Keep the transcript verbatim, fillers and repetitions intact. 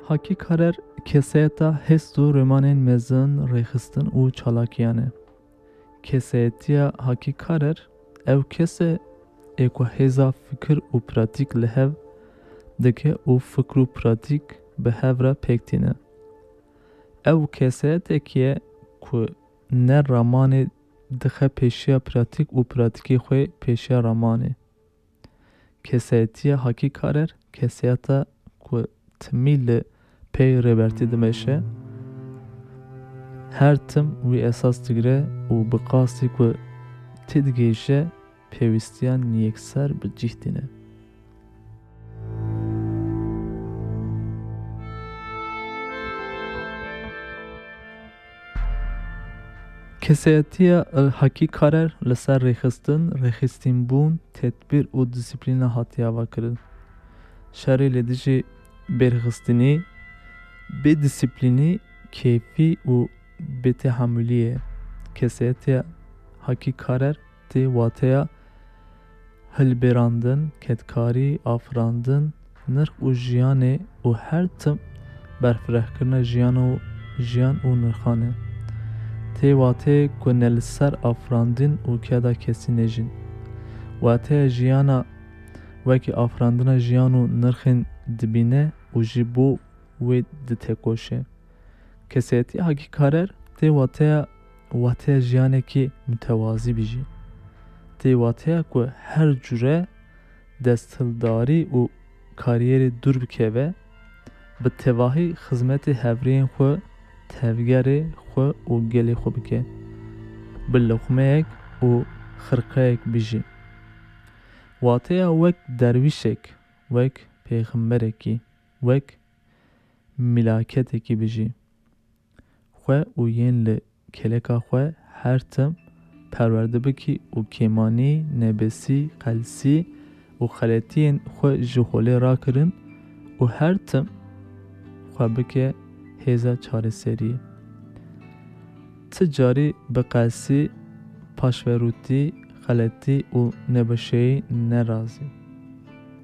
Hakî Karer kesayeta hêst û rêmanên mezin, rêxistin û çalakiyan e. Kesayetiya Hakî Karer ew kes e ê ku hêza fikir û pratîk li hev dike û fikr û pratîk bi hev re pêk tîne. Ew kesayetekî ye ku ne ramanê dixe pêşiya pratîk û pratîkê xwe pêşiya ramanê. Kesayetiya Hakî Karer kesayeta ku timî li pey Rêbertî dimeşe, her tim wî esas digire û bi qasî ku têdigihîje pêwîstiyan yekser bi cih tîne. Kesayetiya Hakî Karer li ser rêxistin, rêxistînbûn, tedbîr û disiplîna hatiye avakirin. Şerê li dijî bêrxistinî, bêdisiplînî, kêfî û bêtehamulî ye. Kesayetiya Hakî Karer tê wateya hilberandin, kedkarî, afirandin, nirx û jiyanê û her tim berfirehkirina jiyan û, jiyan û nirxan e. Tê wateyê ku ne li ser afirandin û keda kesî nejîn. Wateya jiyana wekî afirandina jiyan û nirxên dibîne û ji bo wê ditekoşe. Kesayetiya Hakî Karer tê wateya, wateya jiyanekî mutewazî bijî. Tê wateya ku her cure desthildarî û kariyerê dûr bikeve, bi tevahî xizmetê hevrêyên xwe, tevgerê xwe û gelê xwe bike. Bi loqmeyek û xirqeyek bijî. Wateya wek derwîşek, wek pêxemberekî, wek milaketekî bijî. Xwe û yên li kêleka xwe her tim perwerde bikî û kêmanî, nebesî, qelsî û xeletiyên xwe ji holê rakirin û her tim xwe bike hêza çareseriyê. Ti carî bi qelsî, paşverûtî, xeletî û nebaşeyî nerazî.